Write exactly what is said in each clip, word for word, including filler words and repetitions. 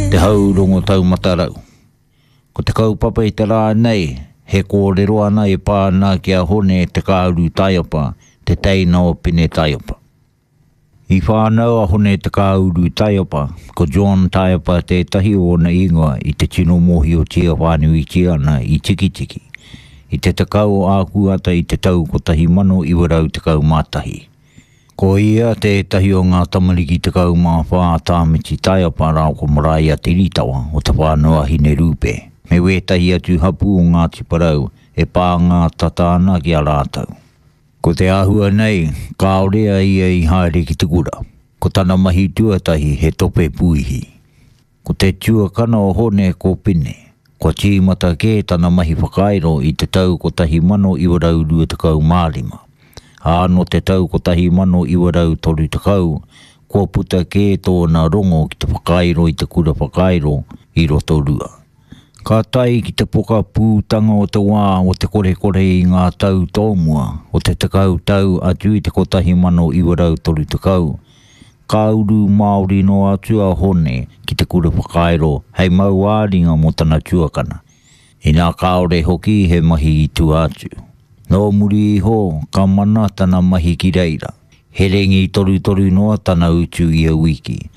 Te Hau Rongo Taumata Rau. Ko te kaupapa i te rā nei, he kōrero ana e pā ana ki a Hone Te Kāuru Taiapa, te teina o Pine Taiapa. I whānau a Hone Te Kāuru Taiapa, ko John Taiapa tētahi o ōna ingoa i te tino mōhiotia whānuitia ana i Tikitiki, i te tekau o Ākuhata i te tau kotahi mano iwa rau tekau mā tahi. Ko ia tētahi o ngā tamariki tekau mā whā a Tāmiti Taiapa rāua ko Maraea Te Ritawa o Te Whānau-a-Hinerupe, me wētahi atu hapū o Ngāti Porou e pānga tata ana ki a rātou. Ko te āhua nei, kāore a ia i haere ki te kura. Ko tana mahi tuatahi he tope puihi. Ko te tuakana o Hone ko Pine. Kua tīmata kē tana mahi whakairo i te tau kotahi mano iwa rau rua tekau mā rima. Ā, nō te tau kotahi mano iwa rau toru tekau, kua puta kē tōna rongo ki te whakairo i te kura whakairo i Rotorua. Ka tae ki te pokapūtanga o te wā o te korekore i ngā tau tōmua o te tekau tau atu i te kotahi mano iwa rau toru tekau, ka uru Māori noa atu a Hone ki te kura whakairo hei mau ā-ringa mō tana tuakana, inā kāore hoki he mahi i tua atu. Nō muri iho ka mana tana mahi ki reira, he rengi torutoru noa tana utu ia wiki.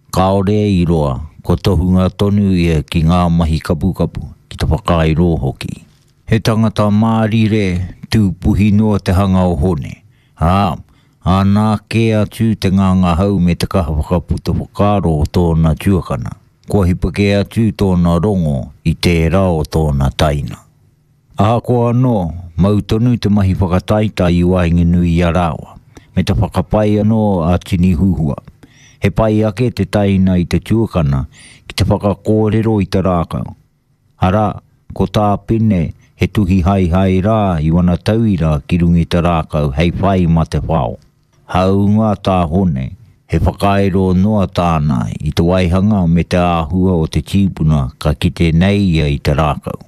Kāore i roa, ko tohunga tonu ia ki ngā mahi kapukapu, ki te whakairo hoki. He tangata mārire, tūpuhi noa te hanga o Hone, ā, āna kē atu te ngangahau me te kaha whakaputa whakaaro o tōna tuakana. Kua hipa kē atu tōna rongo i tērā o tōna taina. Ahakoa anō, mau tonu te mahi whakataetae i waenganui i a rāua, me te whakapai anō a Tini Huhua. He pai ake te taina i te tuakana ki te whakakōrero i te rākau. Arā, ko tā Pine he tuhi haehae rā i wana tauira ki runga i te rākau hei whai mā te whao. Hāunga tā Hone, he whakairo noa tāna i te waihanga me te āhua o te tīpuna ka kite nei ia i te rākau.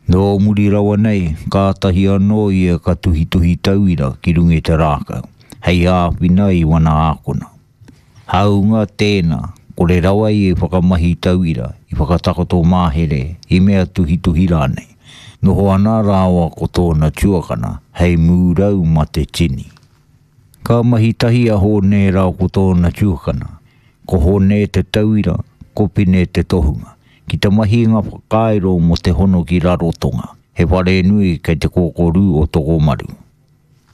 Nō muri rawa nei, kātahi anō ia ka tuhituhi tauira ki runga i te rākau, hei āwhina i wana ākona. Hāunga tēnā, kore rawa ia i whakamahi tauira, i whakatakoto mahere, i mea tuhituhi rānei. Noho ana rāua ko tōna tuakana, hei mūrau mā te tini. Ka mahi tahi a Hone rāua ko tōna tuakana. Ko Hone te tauira, ko Pine te tohunga. Ki te mahi ngā whakairo mō te hono ki Rarotonga, he whare nui kei te kōkōrū o Tokomaru.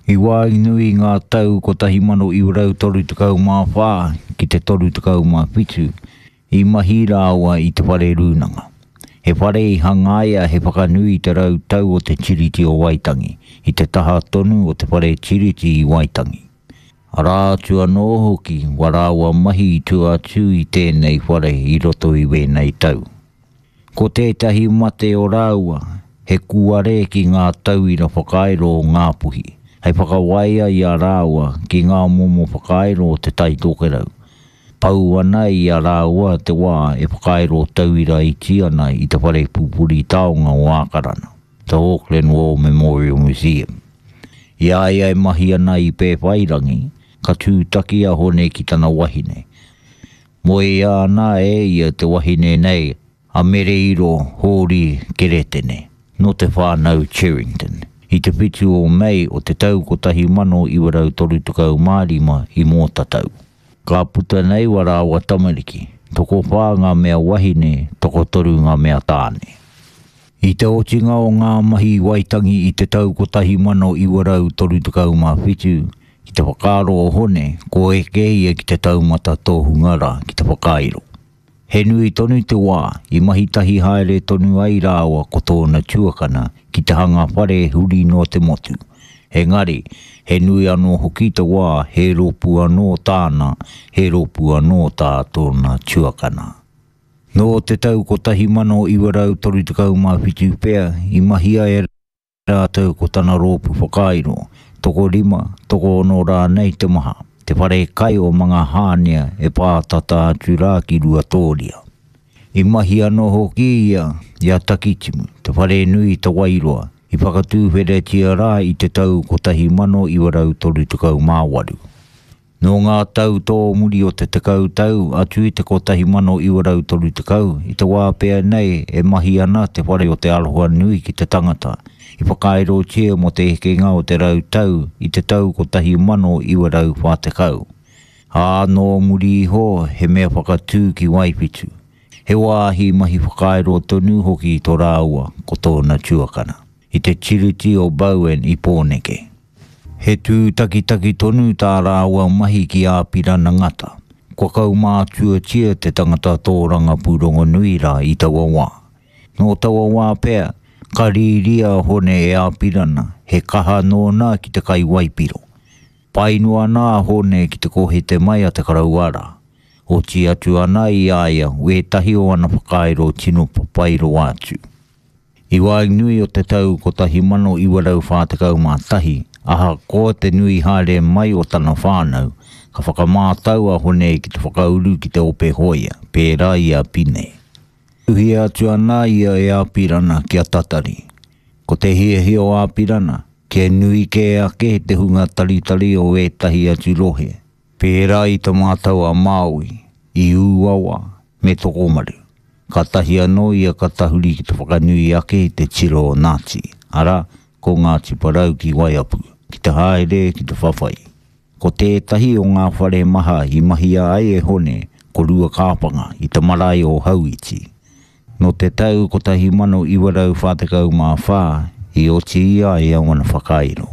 I waenganui i ngā tau kotahi mano iwa rau toru tekau mā whā ki te toru tekau mā whitu, i mahi rāua i te whare rūnanga. He whare i hangaia he whakanui i te rau tau o te Tiriti o Waitangi, i te taha tonu o te whare Tiriti i Waitangi. Arā atu anō hoki wā rāua mahi i tua atu i tēnei whare i roto i wēnei tau. Ko tētahi mate o rāua, he kuare ki ngā tauira whakairo o Ngāpuhi, hei whakawaia i a rāua ki ngā momo whakairo o te Tai Tokerau. Pau ana i a rāua te wā e whakairo tauira iti ana i te whare pupuri taonga o Ākarana, the Auckland War Memorial Museum. I a ia e mahi ana i Pēwhairangi, ka tūtaki a Hone ki tana wahine. Moea ana e ia te wahine nei a Mereiro Hōri Keretene, nō te whānau Cherrington, i te whitu o Mei o te tau kotahi mano iwa rau toru tekau mā rima i Mōtatau. Ka puta nei wā rāua tamariki, tokowhā ngā mea wahine, tokotoru ngā mea tāne. I te otinga o ngā mahi Waitangi i te tau kotahi mano iwa rau toru tekau mā whitu, ki te whakaaro o Hone, ko eke ia ki te taumata tohunga rā, ki te whakairo. He nui tonu te wā, i mahi tahi haere tonu ai rāua ko tōna tuakana ki te hanga whare huri noa te motu. Engari, he nui anō hoki te wā, he rōpū anō tāna, he rōpū anō tā tōna tuakana. Nō te tau kotahi mano iwa rau toru tekau mā whitu pea, i mahia e rātou ko tana rōpū whakairo, tokorima, tokoono rānei te maha, te whare kai o Mangahānea e pātata atu rā ki Ruatōria. I mahi anō hoki ia i a Takitimu, te whare nui i Te Wairoa, i whakatūwheretia rā i te tau kotahi mano iwa rau toru tekau mā waru. Nō ngā tau tōmuri o te tekau tau atu i te kotahi mano iwa rau toru tekau, i te wā pea nei e mahi ana te whare o Te Aroha Nui ki te tangata, i whakaerotia mō te hekenga o te rau tau i te tau kotahi mano iwa rau whā tekau. Ā, nō muri iho he mea whakatū ki Waiwhitu. He wāhi mahi whakaero tonu hoki tō rāua ko tōna tuakana, i te tiriti o Bowen i Pōneke. He tūtakitaki tonu tā rāua mahi ki Āpirana Ngata. Kua kaumātuatia te tangata tōrangapū rongonui rā i taua wā. Nō taua wā pea, ka rīria a Hone e Āpirana, he kaha nōna ki te kai waipiro. Pai noa ana a Hone ki te kohete mai a te karauara. Oti atu ana i a ia wētahi o ana whakairo tino papai rawa atu. I waenganui o te tau kotahi mano iwa rau whā tekau mā tahi, ahakoa te nui haere mai o tana whānau, ka whakamātau a Hone ki te whakauru ki te ope hōia, pērā i a Pine. Tuhia atu ana ia e Āpirana kia tatari. Ko te hiahia o Āpirana, kia nui kē ake te hunga taritari o ētahi atu rohe, pērā i Te Mātau a Māui, i Ūawa, me Tokomaru. Kātahi anō ia ka tahuri ki te whakanui ake i te tiro o Nāti, arā, ko Ngāti Porou ki Waiapu, ki te haere ki te whawhai. Ko tētahi o ngā whare maha i mahia ai e Hone ko Ruakāpanga i te marae o Hauiti. Nō te tau kotahi mano iwa rau whā tekau mā whā i oti i a ia wana whakairo.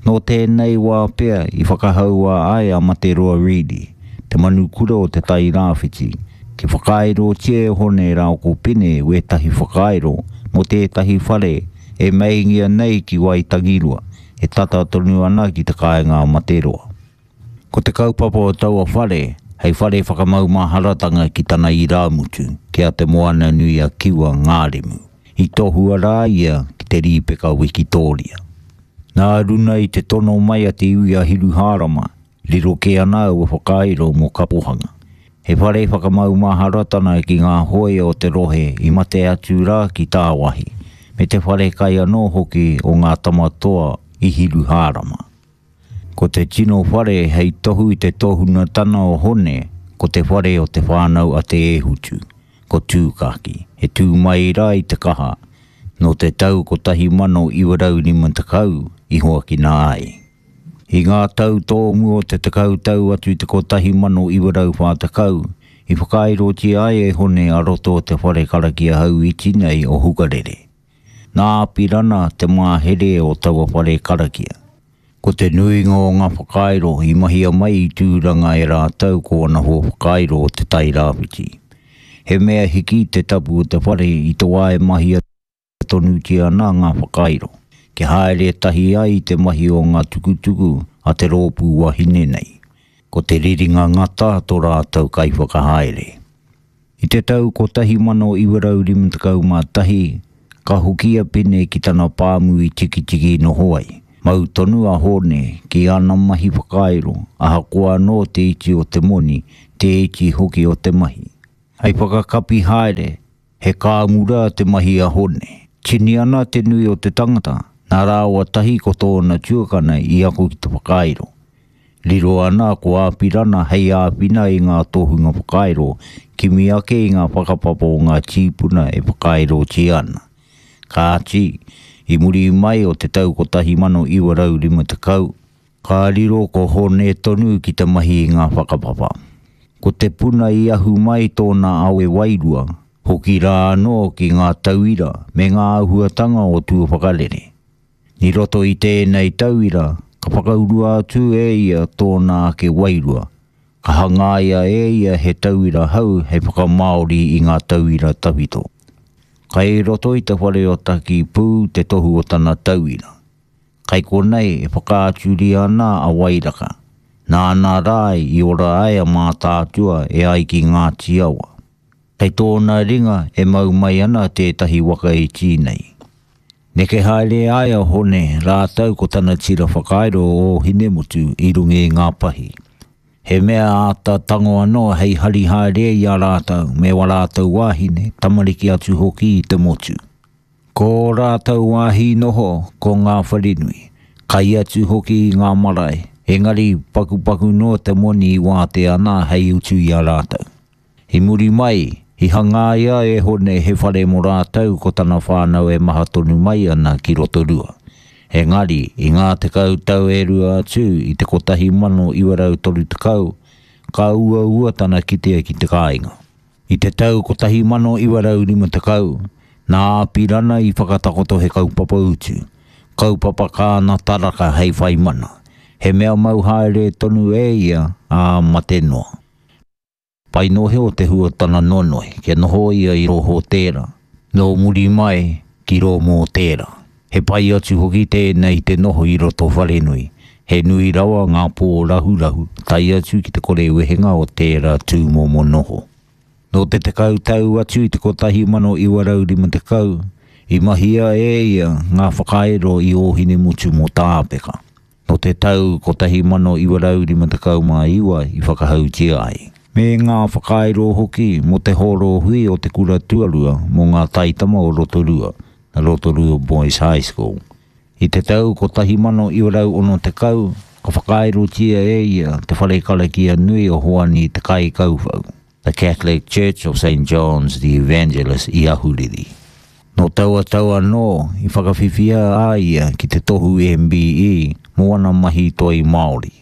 Nō tēnei wā pea i whakahaua ai a Materoa Reedy, te manukura o Te Tai Rāwhiti, ki whakaairotia e Hone rāua ko Pine wētahi whakairo mō tētahi whare e meingia nei ki Waitangirua, e tata tonu ana ki te kāinga a Materoa. Ko te kaupapa o taua whare, hei whare whakamaumaharatanga ki tana irāmutu, ki a Te Moananui-a-Kiwa Ngāremu. I tohua rā ia ki te rīpeka Wikitōria. Nā runa i te tono mai a te iwi a Hiruhārama, riro kē ana aua whakairo mō Kapohanga. He whare whakamaumaharatanga ki ngā hōia o te rohe i mate atu rā ki tāwāhi, me te whare kai anō hoki o ngā tama toa i Hiruhārama. Ko te tino whare hei tohu i te tohunatana o Hone, ko te whare o te whānau a Te Ēhutu, ko Tūkāki, e tū mai rā i te kaha, nō te tau kotahi mano iwa rau rima tekau i hoakina ai. I ngā tau tōmua o te tekau tau atu i te kotahi mano iwa rau whā tekau, i whakaairotia ai e Hone a roto o te whare karakia hau iti nei o Hukarere. Nā Apirana te mahere o taua whare karakia. Ko te nuinga o ngā whakairo i mahia mai i Tūranga e rātou ko ana hoa whakairo o Te Tai Rāwhiti. He mea hiki te tapu o te whare i te wā e mahia tonutia ana ngā whakairo, kia haere tahi ai te mahi o ngā tukutuku a te rōpū wahine nei. Ko te riringa ngata tō rātou kaiwhakahaere. I te tau kotahi mano iwa rau rima tekau mā tahi, ka hoki a Pine ki tana pāmu i Tikitiki noho ai. Mau tonu a Hone ki ana mahi whakairo, ahakoa anō te iti o te moni, te iti hoki o te mahi. Hei whakakapi haere, he kāmura te mahi a Hone. Tini ana te nui o te tangata, nā rāua tahi ko tōna tuakana i ako ki te whakairo. Riro ana ko Āpirana hei āwhina i ngā tohunga whakairo, kimi ake i ngā whakapapa o ngā tīpuna e whakairotia ana. Kāti, i muri mai o te tau kotahi mano iwa rau rima tekau, ka riro ko Hone tonu ki te mahi i ngā whakapapa. Ko te puna i ahu mai tōna awe wairua, hoki rā anō ki ngā tauira me ngā āhuatanga o Tuawhakarere. I roto i tēnei tauira, ka whakaurua atu e ia tōna ake wairua, ka hangaia e ia he tauira hau hei whakamāori i ngā tauira tawhito. Kai roto i te whare o Takipū te tohu o tana tauira. Kai konei e whakaaturia ana a Wairaka. Nāna rā i ora ai a Mātaatua e ai ki Ngāti Awa. Kei tōna ringa e mau mai ana tētahi waka iti nei. Neke haere ai a Hone rātou ko tana tira whakairo o Ōhinemutu i runga i ngā pahi. He mea āta tango anō hei hari haere i a rātou me wā rātou wāhine, tamariki atu hoki i te motu. Ko ō rātou wāhi noho ko ngā wharenui, kai atu hoki i ngā marae, Engari pakupaku noa te moni i wātea ana hei utu i a rātou. I muri mai, i hangaia e Hone he whare mō rātou ko tana whānau e maha tonu mai ana ki Rotorua. Engari, i ngā tekau tau e rua atu i te kotahi mano iwa rau toru tekau, ka uaua tana kitea ki te kāinga. I te tau kotahi mano iwa rau rima tekau, nā Apirana i whakatakoto he kaupapa utu, kaupapa kāna taraka hei whai mana. He mea mau haere tonu e ia ā mate noa. Pai nohe o te hua tana nonoi, kia noho ia i rō hōtēra, nō muri mai ki rō mōtēra. He pai atu hoki tēnei te noho i roto wharenui. He nui rawa ngā pō rahurahu, tae atu ki te kore wehenga o tērā tūmomo noho. Nō te tekau tau atu i te kotahi mano iwa rau rima tekau, i mahia e ia ngā whakairo i Ōhinemutu mō Tāpeka. Nō te tau kotahi mano iwa rau rima tekau mā iwa i whakahautia ai. Me ngā whakairo hoki mō te hōro hui o te kura tuarua mō ngā taitama o Rotorua, na Rotorua Boys High School. I te tau kotahi mano iwa rau ono tekau, ka whakairotia e ia te whare karakia nui o Hoani te Kaikauwhau, the Catholic Church of Saint John's the Evangelist i Ahuriri. Nō taua tau anō i whakawhiwhia a ia ki te tohu M B E mō ana mahi toi Māori.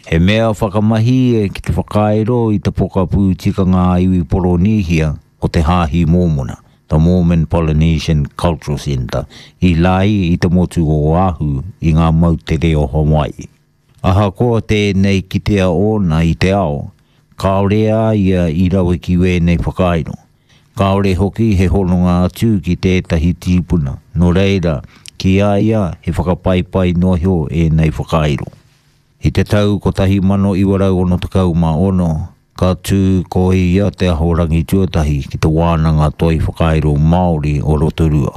He mea whakamahi e ki te whakairo i te pokapū tikanga a iwi Poronihia o te Hāhi Mōmona, the Mormon Polynesian Cultural Centre, i Lai i te motu o Oahu i ngā moutere o Hawaii. Ahakoa tēnei kitea ōna i te ao, kāore a ia i rawe ki wēnei whakairo. Kāore hoki he hononga atu ki tētahi tīpuna, nō reira, ki a ia he whakapaipai noa iho ēnei whakairo. I te tau kotahi mano iwa rau ono tekau mā ono, ka tū ko ia te ahorangi tuatahi ki te wānanga toi whakairo Māori o Rotorua.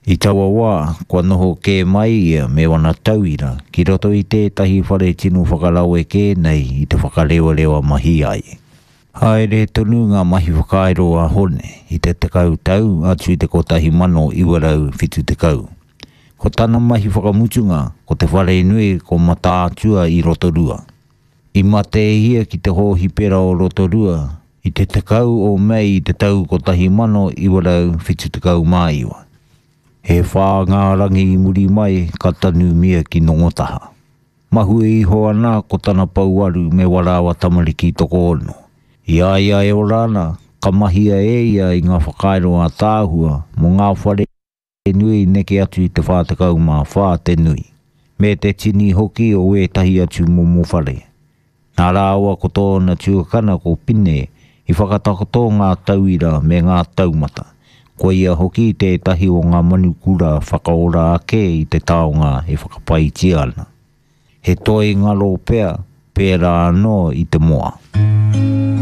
I taua wā, kua noho kē mai ia me wana tauira ki roto i tētahi whare tino whakarawe kē nei i te whakarewarewa mahi ai. Haere tonu ngā mahi whakairo a Hone i te tekau tau atu i te kotahi mano iwa rau whitu tekau. Ko tana mahi whakamutunga, ko te whare nui ko Mataatua i Rotorua. I mate ia ki te hōhipera o Rotorua i te tekau o Mei i te tau kotahi mano iwa rau whitu tekau mā iwa. He whā ngā rangi i muri mai ka tanumia ki Nongotaha. Mahue iho ana ko tana pouaru me warawa tamariki tokoono. I a ia e ora ana, ka mahia e ia i ngā whakairo a tāhua mō ngā whare nui neke atu i te whā tekau mā whā te nui. Me te tini hoki o ētahi atu momo whare. Nā rāua ko tōna tuakana ko Pine i whakatakoto ngā tauira me ngā taumata. Ko ia hoki tētahi o ngā manukura whakaora ake i te taonga e whakapaitia ana. He toi ngaro pea, pērā anō i te moa.